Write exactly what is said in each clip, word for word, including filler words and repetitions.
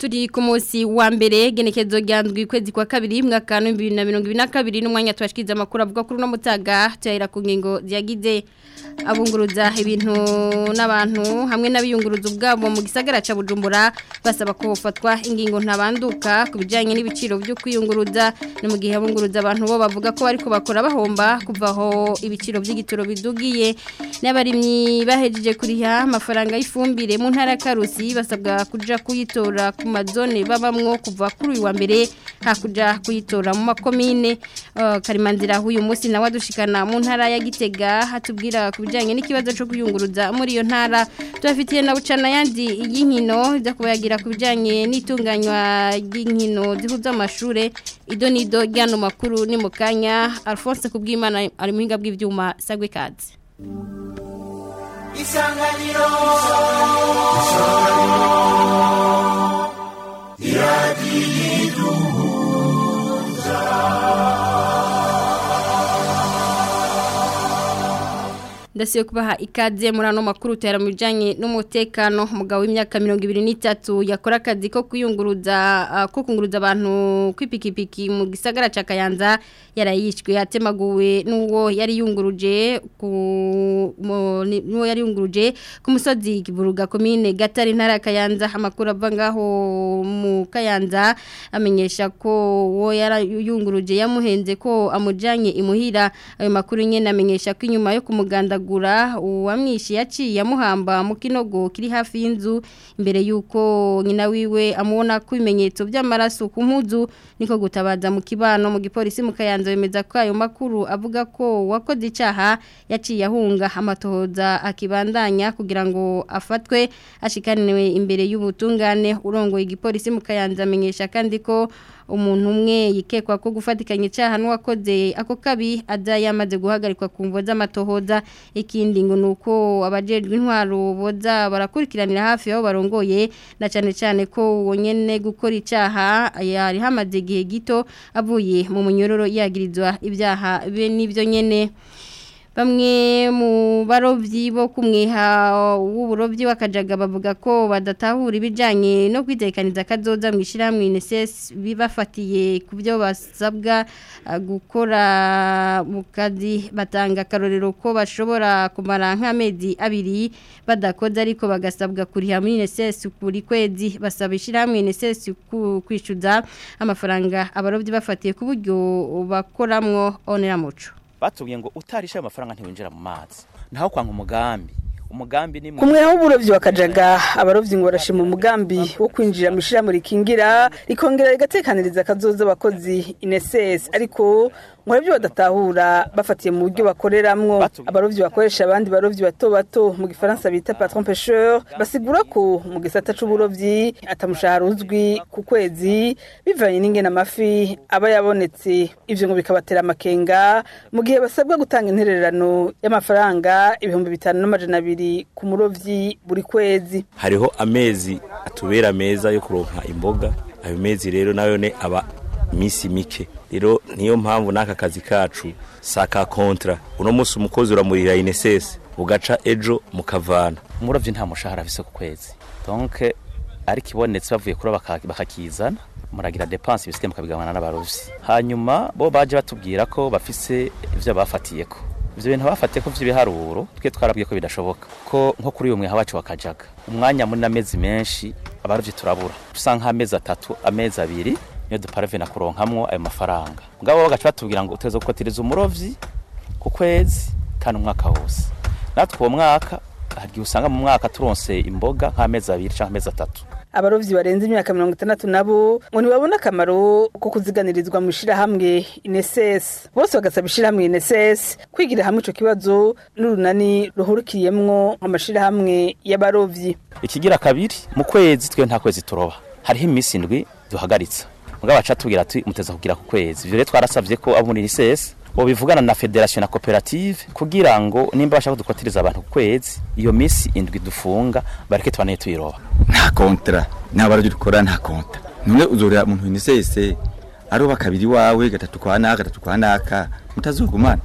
Turi ku munsi wa mbere genekezo ryandwi kwezi kwa kabiri mwaka wa bibiri na mirongo ibiri na kabiri n'umwanya twashikiza amakuru avuga kuri no mutaga tuyahera ku ngingo ziyagize. Abunguruza ibintu n'abantu hamwe n'abiyunguruza ubwabo mu gisagara ca Bujumbura basaba ko hofatwa ingingo ntabanduka ku bijanye n'ibiciro byo kwiyunguruza. Ni mu gihe abunguruza abantu bo bavuga ko bariko bakora bahomba kuvaho ibiciro by'igitoro bidugiye. N'abarimyi bahejeje kuriha amafaranga y'ifumbire mu ntara ya Karusi basabwa kuja kuyitora ku mazone babamwo kuva kuri uyu wa mbere hakuja kuyitora mu makomine. uh, Karimanzira huyu munsi nawe adushikana mu ntara ya Gitega hatubwira kubijanye n'ikibazo cyo kuyunguruza muri iyo ntara. Tubafitiye na bucana yandi y'inkino iza kubayagira kubijanye n'itunganywa ry'inkino zihuza amashure. Ido nido ryano makuru ni mukanya. Alphonse Kubwimana ari muhinga bw'ivyuma sagwe kazi. Isanganiro Iradiyiduhuza. Ndasiyo kubaha ikaze muri ano makuru tera mu bijanye n'umutekano. Umugabo w'imyaka mirongo ibiri n'itatu yakora akazi ko kuyunguruza uh, ko kunguruza abantu kwipikipiki mu gisagara ca Kayanza yarayishwe atemaguwe n'uwo yari yunguruje ku n'uwo yari yunguruje ku musozi Kiburuga commune Gatare ntara Kayanza. Amakuru ava ngaho mu Kayanza amenyesha ko uwo yari yunguruje yamuhenze ko amujanye imuhira. Ayo makuru nyene amenyesha ko inyuma yo kumuganda gura uwamwishi yaciye yamuhamba mu kinogo kiri hafi y'inzu imbere yuko nyina wiwe amubona ko ibimenyetso by'amaraso ku mpuzu niko gutabaza mu kibano. Mu gipolisi mu Kayanza bemeza ko ayo makuru avuga ko wakoze icaha yaciye ahunga, amatohoza akibandanya kugira ngo afatwe ashikaniwe imbere y'ubutungane. Urongoye igipolisi mu Kayanza amenyesha kandi ko umuntu umwe yikekwa ko gufatikanya icaha n'uwakoze ako kabi aza yamaze guhagarikwa ku mvo z'amatohoza. Ikindi ngo nuko abajejwe intwaro boza barakurikiranira hafi aho barongoye na cyane cyane ko wonyene gukora icaha yari hamaze igihe gito avuye mu munyororo yagirizwa ibyaha be nivyo nyene. Bamwe mu barovyi bo kumweha w'uburovyi wakajaga bavuga ko badatahura ibijanye no kwitekaniza kazoza mu ishiramwe I N S S bibafatiye ku byo basabwa gukora mu kazi. Batanga karorero ko bashobora kumara nk'amezi abiri badakoze ariko bagasabwa kuriha muri I N S S kuri kwezi. Basaba ishiramwe I N S S kwishyuza amafaranga abarovyi bafatiye ku buryo bakoramwo. Onera muco batubwiye ngo utarisha amafaranga ntiwinjira mu mazi naho kwanga umugambi umugambi ni kumwe aho uburovyi wakajaga. Abarovyi ngo barashima umugambi wo kwinjira mu ishirahamwe rikingira rikongera rigatekaniriza kazoza abakozi I N S S, ariko ngo ibyo badatahura bafatiye mu buryo bakoreramwo. Abarovyi bakoresha abandi barovyi bato bato mu gifaransa bita patron pêcheur basigura ko mu gisata c'uburovyi atamushahara uzwi ku kwezi bivanye n'ingene amafi aba yabonetse. Ivyo ngo bikabatera amakenga mu gihe basabwa gutanga intererano y'amafaranga ibihumbi bitanu n'amajana abiri ku murovyi buri kwezi. Hariho amezi atubera meza yo kuronka imboga, ayo mezi rero nayo ne aba misi mike. Rero niyo mpamvu naka kazi kacu saka kontra uno munsi umukozi uramurira I N S S ugaca ejo mukavana. Umurovyi nta mushahara afise ku kwezi, donc ari kibonetse bavuye kuri bakakizana muragira dépense ibisike mukabigabana n'abarovyi. Hanyuma bo baje batubwira ko bafise ivyo bafatiyeko, ivyo bintu bafatiye ko vy'ibiharuro twe twarabwiye ko bidashoboka ko nko kuri uyu mweha wacu wakajaga umwanya muri n'amezi menshi abarovyi turabura usanga amezi atatu amezi abiri niyo duparvena kuronkamwo ayo mafaranga. Mugabo bagaca batubwira ngo uteze gukotiriza umurovyi ku kwezi kandi umwaka wose. Natwe uwo mwaka hagiye usanga mu mwaka turonse imboga nk'amezi abiri canke amezi atatu. Abarovyi barenze imyaka mirongo itandatu nabo ngo ntibabona akamaro ko kuziganirizwa mu ishirahamwe I N S S. Bose bagasaba ishirahamwe I N S S kwigira hamwe ico kibazo n'urunani ruhurikiyemwo amashirahamwe y'abarovyi. Ikigira kabiri mu kwezi twe nta kwezi turoba, hariho imisi indwi duhagaritsa. Mugabo baca tubwira ati muteza kugira ku kwezi. Ivyo rero twarasavye ko abo muri I N S S bobivugana na federation na koperative kugira ngo nimba bashaka dukotiriza abantu ku kwezi iyo misi indwi dufunga bareke tubane tuyiroba. Nta kontra n'abaryo dukora nta kontra. None uzorera umuntu I N S S aroba kabiri wawe gatatu kwa naka gatatu kwa naka mutazogumana.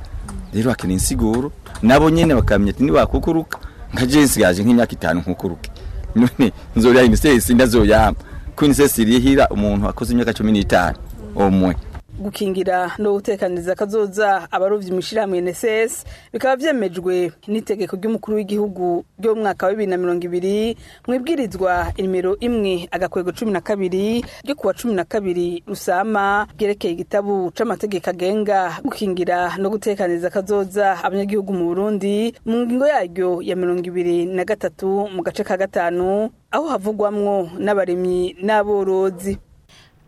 Rero akeneye insiguro nabo nyene bakamenya ati nibakukuruka nka je nsigaje nk'imyaka itanu nkukuruke. None nzorera I N S S ndazoyamba. Ko I N S S irihira umuntu akoze imyaka cumi n'itanu omwe. Gukingira no gutekaniriza kazoza abarovyi mu ishirahamwe I N S S bikaba vyemejwe n'itegeko ry'umukuru w'igihugu ryo mu mwaka wa bibiri na mirongo ibiri mwibwirizwa inimero imwe agakwego cumi na kabiri ryo kuwa cumi na kabiri Rusama ryerekeye igitabu c'amategeko agenga gukingira no gutekaniriza kazoza abanyagihugu mu Burundi, mu ngingo yaryo ya mirongo ibiri na gatatu mu gace ka gatanu, aho havugwamwo n'abarimyi n'aborozi.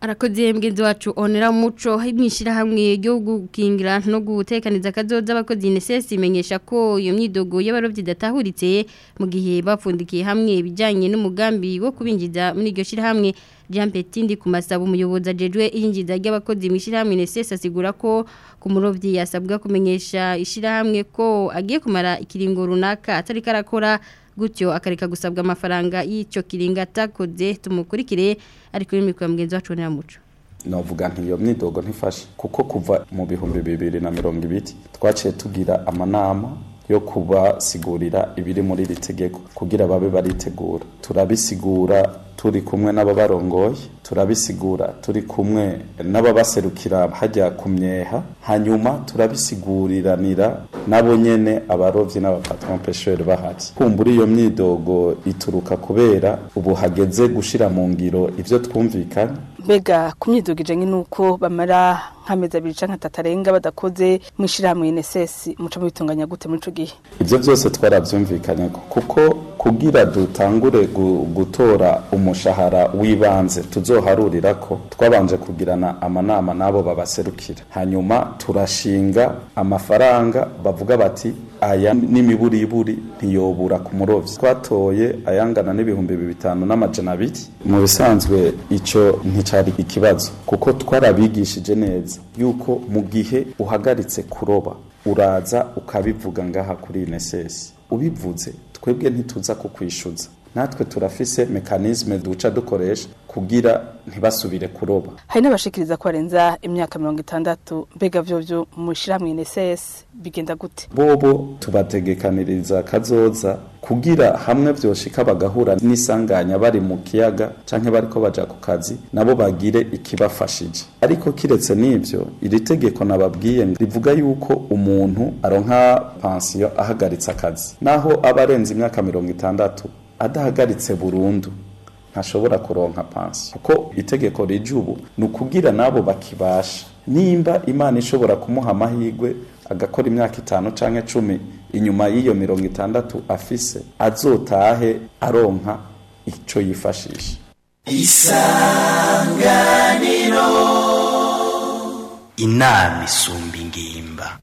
Arakoze mgenzi wacu Onera Muco. Mwishirahamwe ryo gukingira no gutekaniza kazoza abakozi I N S S imenyesha ko iyo myidogo y'abarovyi idatahuritse mu gihe bapfundikiye hamwe ibijanye n'umugambi wo kubinjiza muri iryo shirahamwe. Jean Petindi ku masaba, umuyobozi ajejwe iyinjiza ry'abakozi mwishirahamwe I N S S, asigura ko ku murovyi yasabwa kumenyesha ishirahamwe ko agiye kumara ikiringo runaka atari karakora, gutyo akareka gusabwa amafaranga y'icyo kiringo atakoze. Tumukurikire ariko y'imikoro ya mugenzi wacu Onera Muco. Novuga nti iyo myidogo ntifashe, kuko kuva mu bihumbi bibiri na mirongo ibiri twaciye tugira amanama yo kubasigurira ibiri muri iri tegeko kugira babe baritegura. Turabisigura turi kumwe n'ababarongoye, turabisigura turi kumwe n'ababaserukira hajya ku myeha, hanyuma turabisiguriranira nabo nyene abarovyi n'aba patron pêcheur bahari. Kumbura iyo myidogo ituruka kubera ubu hageze gushira mu ngiro ivyo twumvikanye. Mbega ku myidogo ijanye n'uko bamara nk'amezi abiri canke atatu arenga badakoze mw'ishirahamwe I N S S, muca mubitunganya gute muri ico gihe? Ivyo byose twaravyumvikanye, kuko kugira dutangure gutora umushahara w'ibanze tuzoharurira ko twabanje kugirana amanama n'abo babaserukira, hanyuma turashinga amafaranga bavuga bati aya n'imiburiburi ntiyobura ku murovyi. Twatoye ayangana n'ibihumbi bitanu n'amajana abiri. Mu bisanzwe ico nticari ikibazo, kuko twarabigishije neza yuko mu gihe uhagaritse kuroba uraza ukabivuga ngaha kuri I N S S. Ubivuze, twebwe ntituza kukwishuza, natwe turafise mécanisme duca dukoresha kugira ntibasubire kuroba. Hari n'abashikiriza ko barenza imyaka mirongo itandatu. Mbega vyovyo mu ishirahamwe I N S S bigenda gute? Bobo tubategekaniriza kazoza kugira hamwe vyoshika bagahura n'isanganya bari mu kiyaga canke bariko baja ku kazi, nabo bagire ikibafashije. Ariko kiretse n'ivyo, iri tegeko nababwiye rivuga yuko umuntu aronka pansiyo ahagaritse akazi, naho aba arenze imyaka mirongo itandatu, adahagaritse burundu ntashobora kuronka pansiyo, kuko itegeko rije ubu ni ukugira nabo bakibasha, nimba Imana ishobora kumuha amahirwe agakora imyaka itanu canke cumi inyuma y'iyo mirongo itandatu afise, azotahe aronka ico yifashisha. Isanganiro, inama isumba ingimba.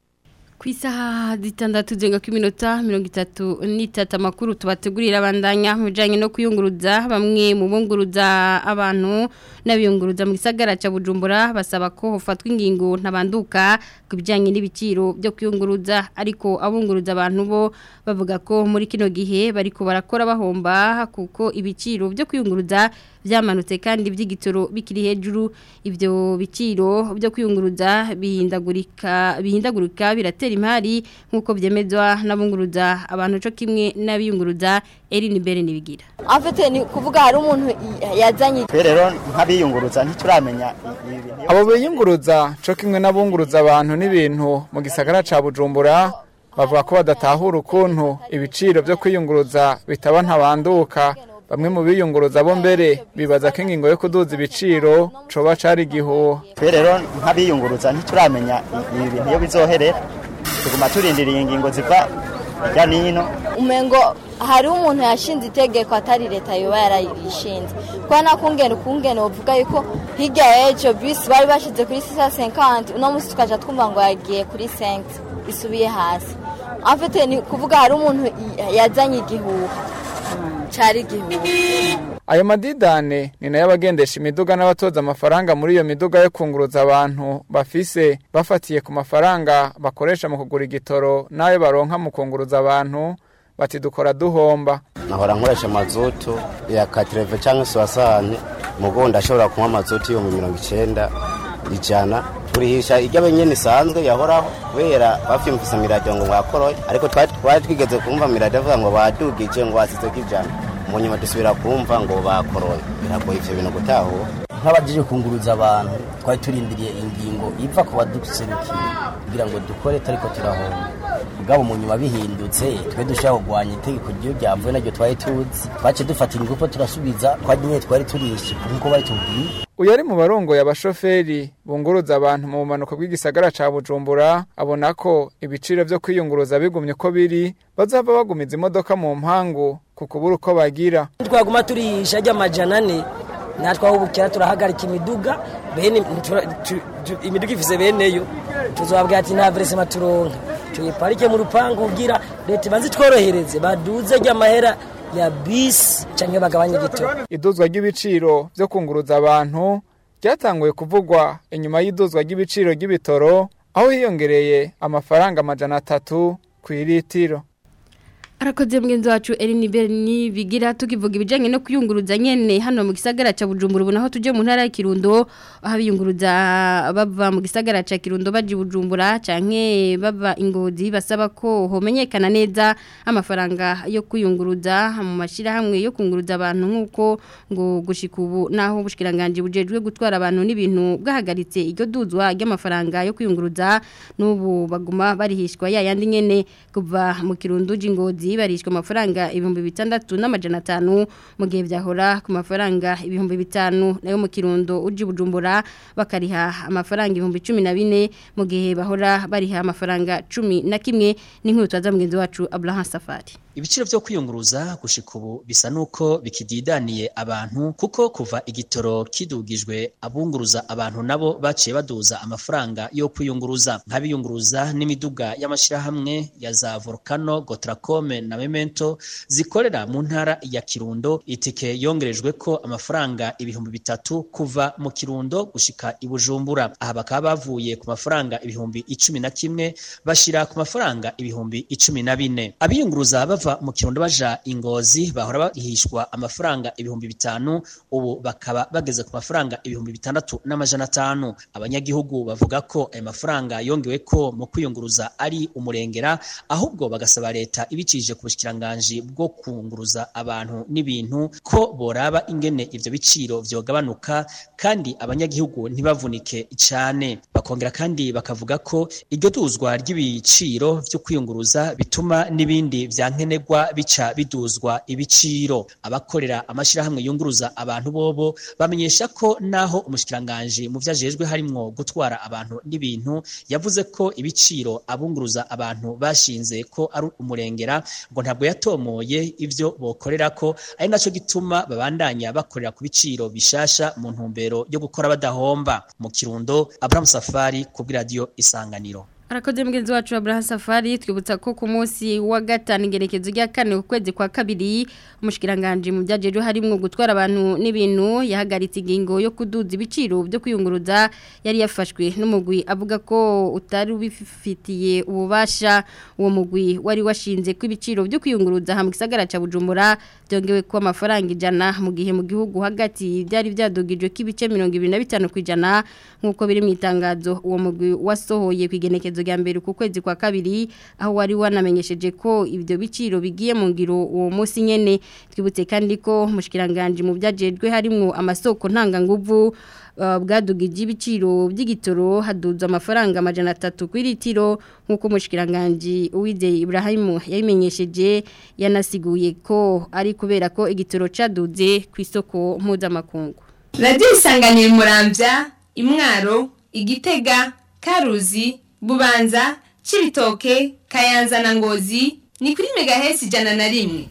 Ku isaha zitandatu zirenga ku minota mirongo itatu n'itatu, amakuru tubategurira abandanya mu bijyanye no kuyunguruza. Bamwe mu bunguruza abantu n'abiyunguruza mu gisagara cya Bujumbura basaba ko hofatwa ingingo ntabanduka ku bijyanye n'ibiciro byo kuyunguruza, ariko abunguruza abantu bo bavuga ko muri kino gihe bariko barakora bahomba, kuko ibiciro byo kuyunguruza byamanutse kandi by'igitoro bikiri hejuru. Ibyo biciro byo kuyunguruza bihindagurika bihindagurika biratera imari, nk'uko byemezwa n'abunguruza abantu co kimwe n'abiyunguruza. Erin Bere nibigira. Afite ni kuvuga hari umuntu yazanye. Twe rero nk'abiyunguruza ntituramenya. Abo biyunguruza co kimwe n'abunguruza abantu n'ibintu mu gisagara ca Bujumbura bavuga ko badatahura ukuntu ibiciro byo kwiyunguruza bitaba ntabanduka. Bamwe mu biyunguruza bo mbere bibaza ko ingingo yo kuduza ibiciro coba cari igihuha. Twe rero nk'abiyunguruza ntituramenya ibi bintu iyo bizoherera, tuguma turindiriye ingingo ziva hirya n'ino. Umengo hari umuntu yashinze itegeko atari leta yoba yarayishinze, kuko nakungene ukungene uvuga yuko hirya y'ejo bisi bari bashize kuri six cent cinquante, uno munsi tukaja twumva ngo yagiye kuri cinq isubiye hasi. En fait ni kuvuga hari umuntu yazanye igihuha, cari igihuha. Ayo madidane ni nayo abagendesha imiduga n'abatoza amafaranga muri iyo miduga yo kunguruza abantu bafise, bafatiye ku mafaranga bakoresha mu kugura igitoro n'ayo baronka mu kunguruza abantu, bati dukora duhomba. Nahora nkoresha mazutu ya quatre-vingts cyangwa soixante, mugo ndashobora kunywa mazutu yo mu mirongo icenda, ijana. Turihisha irya benyene isanzwe yahoraho, kubera bafyumvise miradiyo ngo mwakoroye, ariko twari twigeze kumva miradiyo avuga ngo badugije, ngo basizeko ijana. Mu nyuma dusubira kumva ngo bakoroye. Biragoye ivyo bintu gutahura. Nk'abajije kunguruza abantu twari turindiriye ingingo iva ku baduserukiye kugira ngo dukore tariko turahomba. Mugabo mu nyuma bihindutse twe dushaka kugwanya itegeko ryo ryavuye naryo twari tuzi, twace dufata ingufu turasubiza twagiye twari turishe nkuko bari tubwiye. Uyu ari mu barongoye abashoferi bunguruza abantu mu bumanuko bw'igisagara ca Bujumbura abona ko ibiciro vyo kwiyunguruza bigumye uko biri bazava bagumiza imodoka mu mpangu kukubura uko bagira. Twaguma turisha ry'amajana ane natwe aho bukera turahagarika imiduga bene imiduga ifise beneyo tuzobabwira ati nta versement turonka tuyiparike mu rupangu kugira leta ibanze tworohereze baduze ry'amahera ya bisi canke bagabanye igitoro. Iduzwa ry'ibiciro vyo kunguruza abantu ryatanguye kuvugwa inyuma y'iduzwa ry'ibiciro ry'ibitoro aho hiyongereye amafaranga amajana atatu kw'iritiro. Arakoze mgenzi wacu Eline Berni bigira tukivuga ibijanye no kuyunguruza nyene hano mu gisagara ca Bujumbura ubu naho tuje mu ntara ya Kirundo aho biyunguruza bava mu gisagara ca Kirundo baje Bujumbura canke bava Ingozi basaba ko homenyekana neza amafaranga yo kuyunguruza mu mashira hamwe yo kunguruza abantu nkuko ngo gushika ubu naho ubushikiranganje bujejwe gutwara abantu n'ibintu bwahagaritse iryo duzwa ry'amafaranga yo kuyunguruza n'ubu baguma barihishwa yayandi nyene kuva mu Kirundo Ingozi barishwa amafaranga ibihumbi bitandatu n'amajana atanu mu gihe byahora ku mafaranga ibihumbi bitanu nayo mu Kirundo uji Bujumbura bakariha amafaranga ibihumbi cumi na bine mu gihe bahora bariha amafaranga cumi na kimwe. N'inkuru twaza mugenzi wacu Abraham Safari. Ibiciro vyo kwiyunguruza gushika ubu bisa nuko bikididaniye abantu kuko kuva igitoro kidugijwe abunguruza abantu nabo baciye baduza amafaranga yo kwiyunguruza nk'abiyunguruza n'imiduga y'amashirahamwe ya za Volcano, Gotracome na Memento zikorera mu ntara ya Kirundo. Itike yongerejwe ko amafaranga ibihumbi bitatu kuva mu Kirundo gushika i Bujumbura. Aha bakaba bavuye ku mafaranga ibihumbi icumi na kimwe bashira ku mafaranga ibihumbi icumi na bine. Abiyunguruza bava mu Kirundo baja Ingozi bahora bahishwa amafaranga ibihumbi bitanu ubu bakaba bageze ku mafaranga ibihumbi bitandatu n'amajana atanu. Abanyagihugu bavuga ko ayo mafaranga yongewe ko mu kwiyunguruza ari umurengera, ahubwo bagasaba leta ibicije ku bushikiranganje bwo kunguruza abantu n'ibintu ko boraba ingene ivyo biciro vyogabanuka kandi abanyagihugu ntibavunike cyane. Bakongera kandi bakavuga ko iryo duzwa ry'ibiciro vyo kwiyunguruza bituma n'ibindi vyankenerwa bica biduzwa ibiciro. Abakorera amashirahamwe yunguruza abantu bobo bamenyesha ko naho umushikiranganje mu vyajejwe harimwo gutwara abantu n'ibintu yavuze ko ibiciro abunguruza abantu bashinze ko ari umurengera, ngo ntabwo yatomoye ivyo bokorera ko ari naco gituma babandanya bakorera ku biciro bishasha mu ntumbero yo gukora badahomba. Mu Kirundo, Abraham Safari ku radio Isanganiro. Arakoze mugenzi wacu Abraham Safari. Twibutsa ko ku munsi wa gatanu ingerekezo rya kane ukwezi kwa kabiri umushikiranganje mu byajeje harimwo gutwara abantu n'ibintu yahagaritse ingingo yo kuduza ibiciro byo kwiyunguruza yari yafashwe n'umugwi avuga ko utari ubifitiye ububasha. Uwo mugwi wari washinze ko ibiciro byo kwiyunguruza hamwe gisagara ca Bujumbura byongewe ko amafaranga ijana mu gihe mu gihugu hagati byari byadugijwe k'ibice mirongo ibiri na bitanu kwijana nkuko biri mu itangazo uwo mugwi wasohoye kwigenekezo rya mbere ku kwezi kwa kabiri aho wari wanamenyesheje ko ibyo biciro bigiye mu ngiro uwo munsi nyene. Twibutse kandi ko mushikiranganje mu byajejwe harimwo amasoko ntanganguvu uh, bwadugije ibiciro by'igitoro haduza amafaranga amajana atatu kw'iritiro nkuko mushikiranganje Uwizeye Ibrahim yabimenyesheje. Yanasiguye ko ari kubera ko igitoro caduze ku isoko mpuzamakungu. Radio Isanganiro Muramvya, Imwaro, Igitega, Karuzi, Bubanza, Cibitoke, Kayanza na Ngozi ni kuri megahertz ijana na rimwe.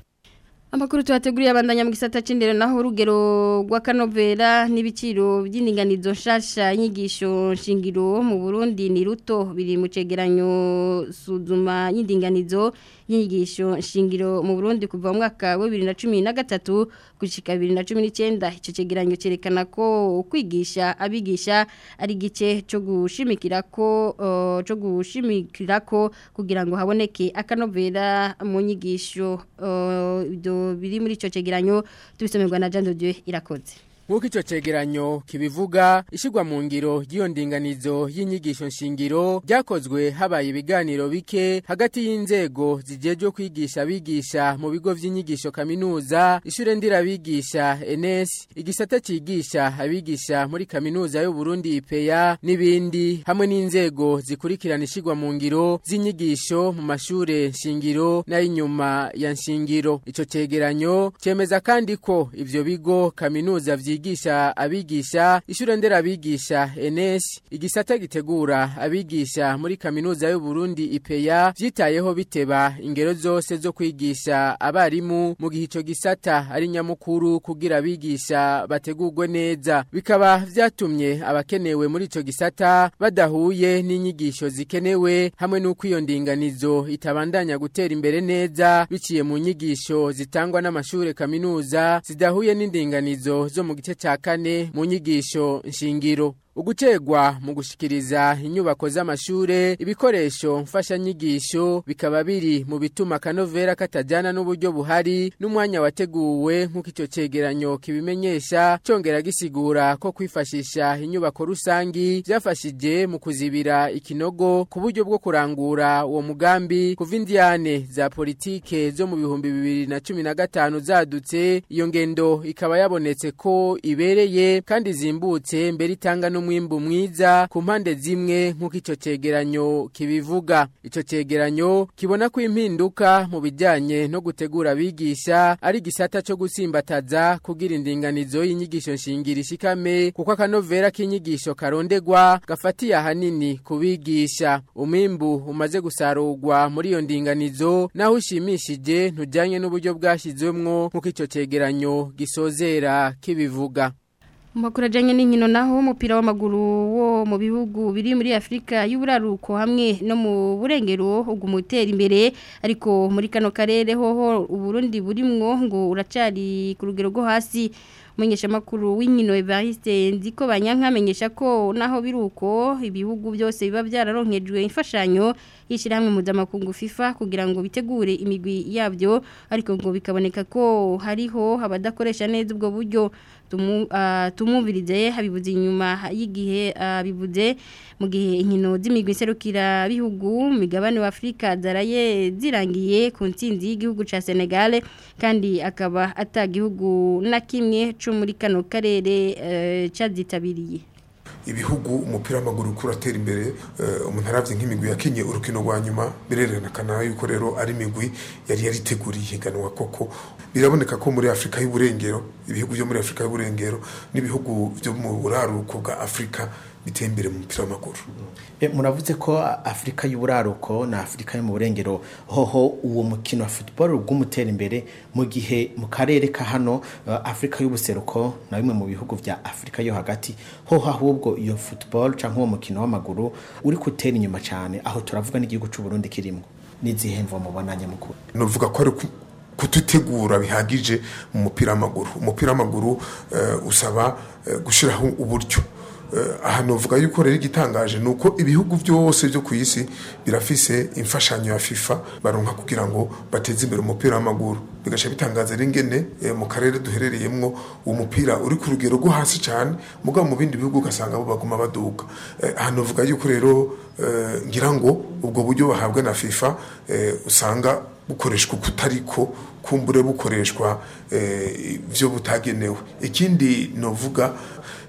Amakuru tuwateguriye abandanya mu gisata c'indero naho urugero rw'akanovera n'ibiciro by'indinganizo nshasha inyigisho nshingiro mu Burundi ni ruto biri mu cegeranyo suzuma y'indinganizo y'inyigisho nshingiro mu Burundi kuva mu mwaka wa bibiri na cumi na gatatu gushika bibiri na cumi n'icenda. Ico cegeranyo cerekana ko kwigisha abigisha ari gice cyo gushimikira ko uh, cyo gushimikira ko kugira ngo haboneke akanovera mu nyigisho uh, biri muri ico cegeranyo tubisomerwa na Jean de Dieu Irakoze. Nk'uko ico cegeranyo kibivuga, ishigwa mu ngiro ry'iyo ndinganizo y'inyigisho nshingiro ryakozwe habaye ibiganiro bike hagati y'inzego zijejwe kwigisha abigisha mu bigo vy'inyigisho kaminuza, ishure ndirabigisha N S, igisata cigisha abigisha muri kaminuza y'u Burundi I P A n'ibindi, hamwe n'inzego zikurikirana ishigwa mu ngiro z'inyigisho mu mashure nshingiro n'ayinyuma ya nshingiro. Ico cegeranyo cemeza kandi ko ivyo bigo kaminuza vyigisha abigisha, ishure nderabigisha N S, igisata gitegura abigisha muri kaminuza y'u Burundi I P A vyitayeho biteba ingero zose zo kwigisha abarimu mu gihe ico gisata ari nyamukuru kugira abigisha bategurwe neza. Bikaba vyatumye abakenewe muri ico gisata badahuye n'inyigisho zikenewe, hamwe n'uko iyo ndinganizo itabandanya gutera imbere neza biciye mu nyigisho zitangwa n'amashure kaminuza zidahuye n'indinganizo zo mu gice ca kane mu nyigisho nshingiro. Ugutegwa mu gushikiriza inyubako z'amashure, ibikoresho mfashanyigisho bikaba biri mu bituma kanovera katajana n'uburyo buhari n'umwanya wateguwe, nk'uko ico cegeranyo kibimenyesha. Congera gisigura ko kwifashisha inyubako rusangi vyafashije mu kuzibira ikinogo ku buryo bwo kurangura uwo mugambi. Kuva indiyane za politike zo mu bihumbi bibiri na cumi na gatanu zadutse, iyo ngendo ikaba yabonetse ko ibereye kandi zimbutse mbere itanga no mwimbu mwiza ku mpande zimwe, nk'uko ico cegeranyo kibivuga. Ico cegeranyo kibona ko impinduka mu bijanye no gutegura abigisha ari gisata co gusimbataza kugira indinganizo y'inyigisho nshingiro ishikame, kuko akanovera k'inyigisho karondegwa gafatiye ahanini kubigisha. Umwimbu umaze gusarurwa muri iyo ndinganizo naho ushimishije ntujanye n'uburyo bwashizwemwo, nk'uko ico cegeranyo gisozera kibivuga. Makuru ajanye n'inkino naho, umupira w'amaguru wo mu bihugu biri muri Afrika y'uburaruko hamwe no mu burengero ugumutera imbere, ariko muri kano karere hoho Uburundi burimwo ngo uracari ku rugero rwo hasi. Umumenyesha makuru w'inkino Evariste Nziko Banyanka amenyesha ko naho biruko ibihugu byose biba byararonkejwe imfashanyo y'ishirahamwe mpuzamakungu FIFA kugira ngo bitegure imigwi yabyo, ariko ngo bikaboneka ko hariho abadakoresha neza ubwo buryo. Tumu, uh, tumumvirize habibuze inyuma y'igihe uh, bibuze mu gihe inkino z'imigwi serukira bihugu migabane wa Afrika zaraye zirangiye ku ntsinzi y'igihugu ca Senegal, kandi akaba atagihugu na kimwe co muri kano karere uh, cazitabiriye. Ibihugu umupira w'amaguru kuratera imbere, umuntu aravye nk'imigwi yakinye urukino rwa nyuma birerekana yuko rero ari imigwi yari yariteguriye higanwa koko. Biraboneka ko muri Afrika y'uburengero, ibihugu byo muri Afrika y'uburengero n'ibihugu byo mu buraruko bwa Afrika biteye imbere mu mupira w'amaguru. E, muravuze ko Afrika y'uburaruko na Afrika yo mu burengero hoho uwo mukino wa football ugumutera imbere, mu gihe mu karere ka hano Afrika y'ubuseruko na bimwe mu bihugu vya Afrika yo hagati hoho ahubwo iyo football canke uwo mukino w'amaguru uri kutera inyuma cyane. Aho turavuga n'igihugu c'u Burundi kirimo n'izihemvo mubonanye mukuru. Novuga ko ari kututegura bihagije mu mupira w'amaguru. Umupira w'amaguru uh, usaba uh, gushiraho uburyo. Aha novuga yuko rero igitangaje nuko ibihugu byose byo ku isi birafise imfashanyo ya FIFA baronka kugira ngo bateze imbere umupira w'amaguru. Bigasha bitangaza ringene e, mu karere duherereyemwo uwo mupira uri ku rugero rwo hasi cyane, mugabo mu bindi bihugu ugasanga bo baguma baduka. Aha novuga yuko rero e, ngira ngo ubwo buryo bahabwa na FIFA e, usanga bukoreshwa kutariko kumbure bukoreshwa ivyo butagenewe. Ikindi novuga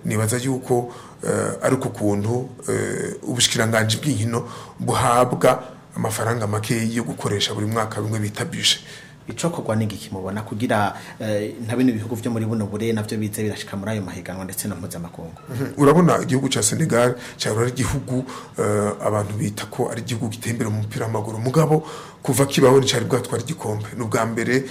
nibaza yuko ariko kuntu ubushikiranganje bw'inkino buhabwa amafaranga make yo gukoresha buri mwaka bimwe bita budget. Icokorwa n'igiki mubona kugira nta bino bihugu vyo muri buno bure navyo bize birashika muri ayo mahiganwa ndetse na mpuzamakungu? Urabona igihugu ca Senegal cyari ari igihugu abantu bita ko ari igihugu gitembera mu mupira w'amaguru, mugabo kuva kibaho ni cari bwatwara igikombe, n'ubwa mbere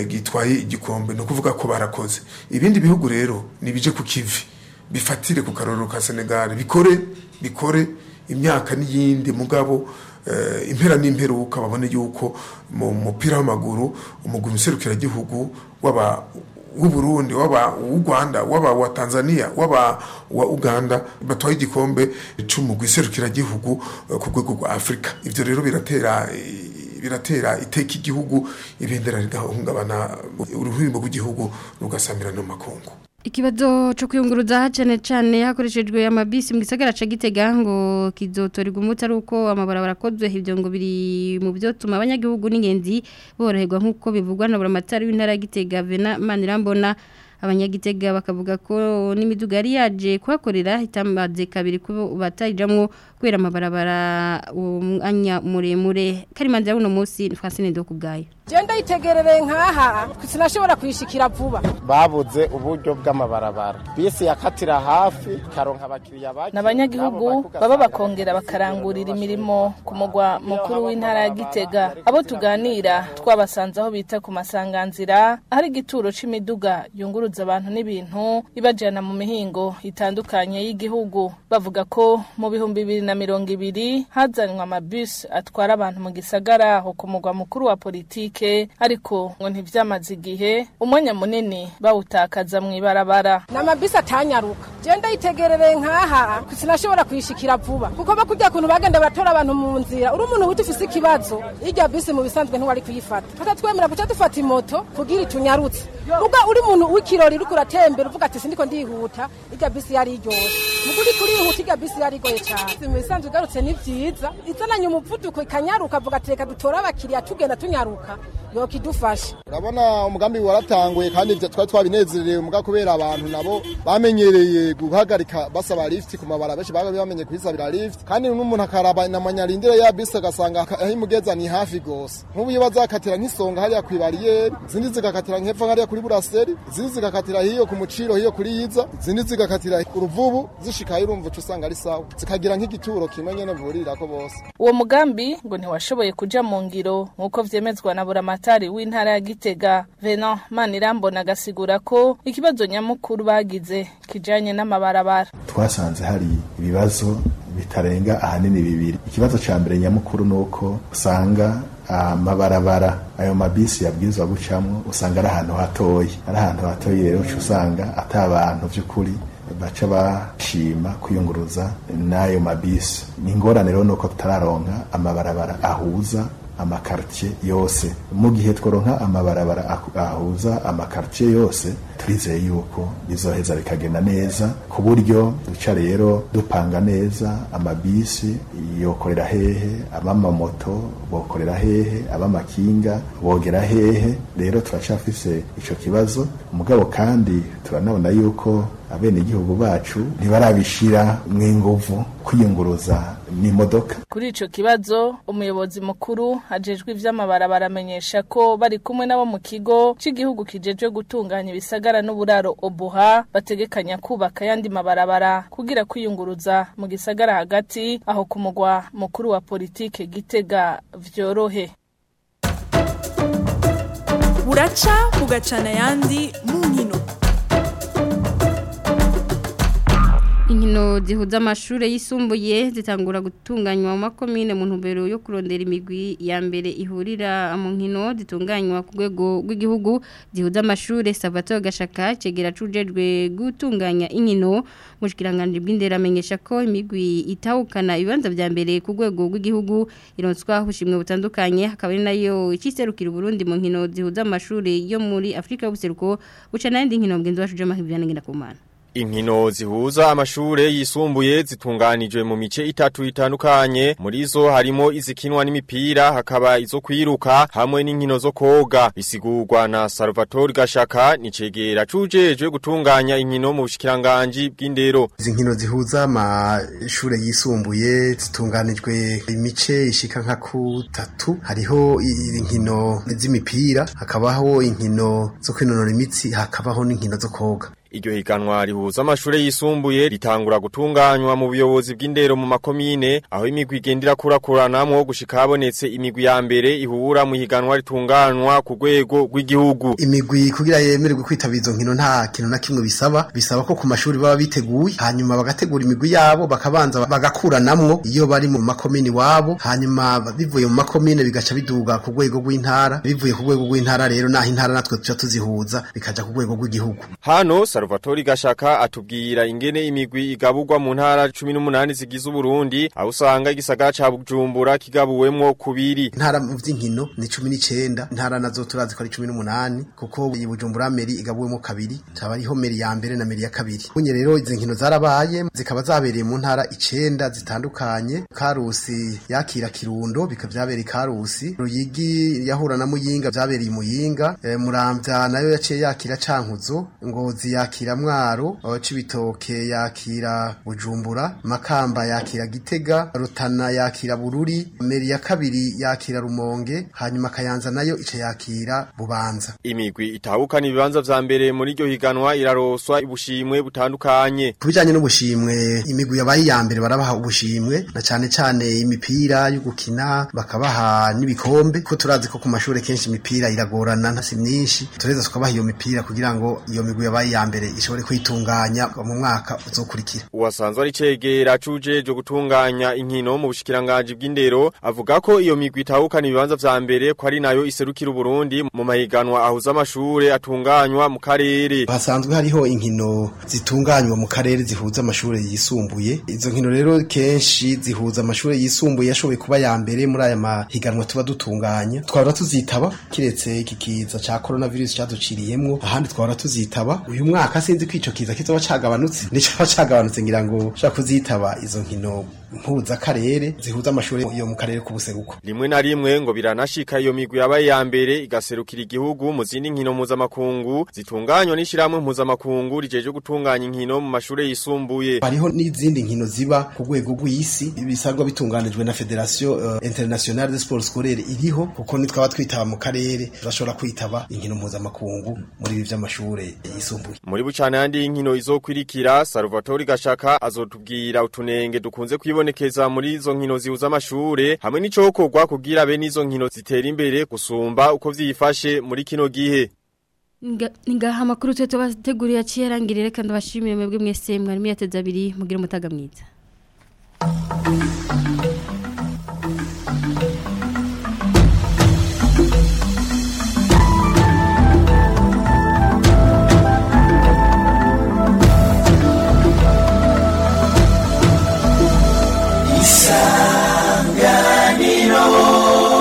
gitwaye igikombe, no kuvuga ko barakoze. Ibindi bihugu rero nibije ku kivi bifatire ku karorero ka Senegal, bikore bikore imyaka n'iyindi, mugabo uh, impera n'imperuka babone yuko mu mupira w'amaguru umugwi muserukira gihugu waba w'u Burundi, waba w'u Rwanda, waba wa Tanzania, waba wa Uganda batwaye igikombe c'umugwi serukira gihugu ku rwego rwa Afrika. Ivyo rero biratera biratera iteka igihugu, ibendera rigahungabana, uruhimbo rw'igihugu rugasamira no makungu. Ikibazo cyo kwiyunguruza cyane cyane hakoreshejwe amabisi mu gisagara ca Gitega ngo kizotorerwa umuti ari uko amabarabara akozwe, ibyo ngo biri mu byo tuma abanyagihugu n'ingenzi boroherwa nk'uko bivugwa na buramatari w'intara ya Gitega Vena Manirambona. Abanyagitega bakavuga ko n'imiduga yari yaje kuhakorera itamaze kabiri ko batayijamwo kubera amabarabara umwanya muremure. Karimanzira uno munsi Francine Ndokubwayo. Genda yitegerereye nkaha sinashobora kuyishikira vuba. Babuze uburyo bw'amabarabara, bisi yakatira hafi karonka abakiriya bake. N'abanyagihugu baba bakongera bakarangurira imirimo ku mugwa mukuru w'intara ya Gitega. Abo tuganira twabasanze aho bita ku masanganzira ahari igituro c'imiduga yunguruza abantu n'ibintu ibajana mu mihingo itandukanye y'igihugu. Bavuga ko mu bihumbi bibiri na mirongo ibiri hazanwa amabus atwara abantu mu gisagara aho ku mugwa mukuru wa politike, ariko ngo ntivyamaze igihe umwanya munini bawutakaza mu ibarabara. N'amabisi atanyaruka. Genda yitegerereye nkaha sinashobora kuyishikira vuba kuko bakujya kuntu bagenda baratora abantu mu nzira. Uri umuntu wita ufise ikibazo irya bisi mu bisanzwe ntiwari kuyifata. Tutatwemera guca dufata imoto kugira itunyarutse. Uga uri umuntu w'ikirori uriko uratembera uvuga ati sindiko ndihuta, irya bisi yari iryoshe. Muguri kurihuta irya bisi yari igoye cyane. Mu bisanzwe ugarutse ni vyiza izananye umuvuduko ikanyaruka avuga ati reka dutore abakiriya tugenda tunyaruka yokidufasha. Urabona umugambi waratanguye kandi twari twabinezerewe muga kubera abantu nabo bamenyereye guhagarika basaba lift ku mabara benshi baga bamenye kwisabira lift, kandi n'umuntu akaraba namanyarindira ya bisi agasanga aho imugeza ni hafi gose. Nk'ubu iyo bazakatira nk'isonga hariya ku barriere, izindi zigakatira nk'epfo hariya kuri buraseri, izindi zigakatira hiyo ku muciro hiyo kuri yiza, izindi zigakatira uruvubu zishikaye urumva uca usanga ari sawa, zikagira nk'igituro kimwe nyene vurirako bose. Uwo mugambi ngo ntiwashoboye kuja mu ngiro nk'uko vyemezwa na buramatari w'intara ya Gitega Venant Manirambona, agasigura ko ikibazo nyamukuru bagize kijanye n'amabarabara. Twasanze hari ibibazo bitarenga ahanini bibiri. Ikibazo ca mbere nyamukuru nuko usanga amabarabara ayo mabisi yabwirizwa gucamwo usanga ari ahantu hatoyi, ari ahantu hatoyi rero uca usanga ata abantu vy'ukuri baca bashima kwiyunguruza n'ayo mabisi. Ni ingorane rero nuko tutararonka amabarabara ahuza amakartier yose. Mu gihe tworonka amabarabara ahuza amakartier yose turizeye yuko bizoheza bikagenda neza, ku buryo duca rero dupanga neza amabisi yokorera hehe, abamamoto bokorera hehe, abamakinga bogera hehe. Rero turacafise ico kibazo, mugabo kandi turanabona yuko abenegihugu bacu ntibarabishira mw'inguvu kwiyunguruza n'imodoka. Kuri ico kibazo umuyobozi mukuru ajejwe ivy'amabarabara amenyesha ko bari kumwe nabo mu kigo c'igihugu kijejwe gutunganya ibisagara n'uburaro Obuha bategekanya kubaka yandi mabarabara kugira kwiyunguruza mu gisagara hagati aho ku mugwa mukuru wa politike Gitega vyorohe. Buraca bugacana yandi mu nkino. Inkino zihuza amashure yisumbuye zitangura gutunganywa mu makomine mu ntumbero yo kurondera imigwi ya mbere ihurira mu nkino zitunganywa ku rwego rw'igihugu zihuza amashure. Salvatore Gashaka cegera cujejwe gutunganya inkino mu bushikiranganje bw'indero amenyesha ko imigwi itahukana ibibanza vya mbere ku rwego rw'igihugu ironswa ubushimwe butandukanye, hakaba ari nayo ikiserukira Burundi mu nkino zihuza amashure yo muri Afrika y'ubuseruko buca n'indi nkino mgenzi wacu Jama Hivyana ngenda kumana. Inkino zihuza amashure yisumbuye zitunganijwe mu mice itatu itandukanye, muri zo harimo izikinwa n'imipira, hakaba izo kwiruka hamwe n'inkino zo koga. Bisigurwa na Salvatore Gashaka nicegera cujejwe gutunganya inkino mu bushikiranganje bw'indero. Izi nkino zihuza amashure yisumbuye zitunganijwe imice ishika nka kutatu, hariho inkino z'imipira, hakabaho inkino zo kwinonora imitsi, hakabaho n'inkino zo koga. Iryo higanwa rihuza amashure yisumbuye ritangura gutunganywa mu buyobozi bw'indero mu makomine, aho imigwi igendera kurakuranamwo gushika habonetse imigwi ya mbere ihura mu higanwa ritunganywa ku rwego rw'igihugu. Imigwi kugira yemererwe kwitabira izo nkino nta kintu na kimwe bisaba, bisaba ko ku mashuri baba biteguye, hanyuma bagategura imigwi yabo bakabanza bagakuranamwo iyo bari mu makomine wabo, hanyuma bivuye mu makomine bigaca biduga ku rwego rw'intara, bivuye ku rwego rw'intara rero naho intara natwe tuca tuzihuza bikaja ku rwego rw'igihugu. Hano Salvatore Gashaka atubwira ingene imigwi igaburwa mu ntara cumi n'umunani zigize Uburundi, aho usanga igisagara ca Bujumbura kigabuwemwo kubiri. Intara mu vy'inkino ni cumi n'icenda, intara nazo turazi ko ari cumi n'umunani kuko iyi Bujumbura meri igabuwemwo kabiri, taba ariho meri ya mbere na meri ya kabiri. Bunye rero izi nkino zarabaye zikaba zabereye mu ntara icenda zitandukanye. Karusi yakira Kirundo bikaba vyabereye Karusi, Ruyigi yahura na Muyinga vyabereye Muyinga, e, Muramvya nayo yaciye yakira Cankuzo, Ngozi yakira Mwaro, Cibitoke yakira Bujumbura, Makamba yakira Gitega, Rutana yakira Bururi, meri ya kabiri yakira Rumonge, hanyuma Kayanza nayo ica yakira Bubanza. Imigwi itahukana ibibanza vya mbere muri iryo higanwa iraroswa ubushimwe butandukanye. Kubijanye n'ubushimwe, imigwi yabaye ya mbere barabaha ubushimwe na cane cane imipira yo gukina, bakabaha n'ibikombe, ko turazi ko ku mashure kenshi imipira iragorana ntasi myinshi, tureza tukabaha iyo mipira kugira ngo iyo migwi yabaye ya mbere ishobore kwitunganya mu mwaka uzokurikira. Uwasanzwe ari cegera cujeje gutunganya inkino mu bushikiranganje bw'indero avuga ko iyo migwi itahukana ibibanza vya mbere ko ari nayo iserukira Uburundi mu mahiganwa ahuza amashure atunganywa mu karere. Hasanzwe hariho inkino zitunganywa mu karere zihuza amashure yisumbuye. Izo nkino rero kenshi zihuza amashure yisumbuye yashoboye kuba ya mbere muri aya mahiganwa tuba dutunganya. Twahora tuzitaba kiretse iki kiza ca coronavirus caduciriyemwo, ahandi twahora tuzitaba. Uyu mwaka sinzi ko ico kiza kizoba cagabanutse, nico cagabanutse ngira ngo shaka kuzitaba izo nkino mpuza karere zihuza amashure yo mu karere k'ubuseruko. Rimwe na rimwe ngo biranashika iyo migwi yabaye ya mbere igaserukira igihugu mu zindi nkino mpuzamakungu zitunganywa n'ishiramwe mpuzamakungu rijeje gutunganya inkino mu mashure yisumbuye. Hariho n'izindi nkino ziba ku rwego rw'isi bisabwa bitunganijwe na Federation uh, Internationale de Sport Scolaire iriho, kuko nitwaba twitaba mu karere turashobora kwitaba inkino mpuzamakungu muri ibi vy'amashure yisumbuye. Muri bucana yandi inkino izokwirikira, Salvatore Gashaka azotubwira utunenge dukunze kwibonekeza muri izo nkino zihuza amashure hamwe n'icokorwa kugira be n'izo nkino zitera imbere gusumba uko vyifashe muri kino gihe. Ngaha makuru twe tubateguriye aciye kandi bashimire mwebwe mwese mwari muyateze abiri mugira umutaga mwiza.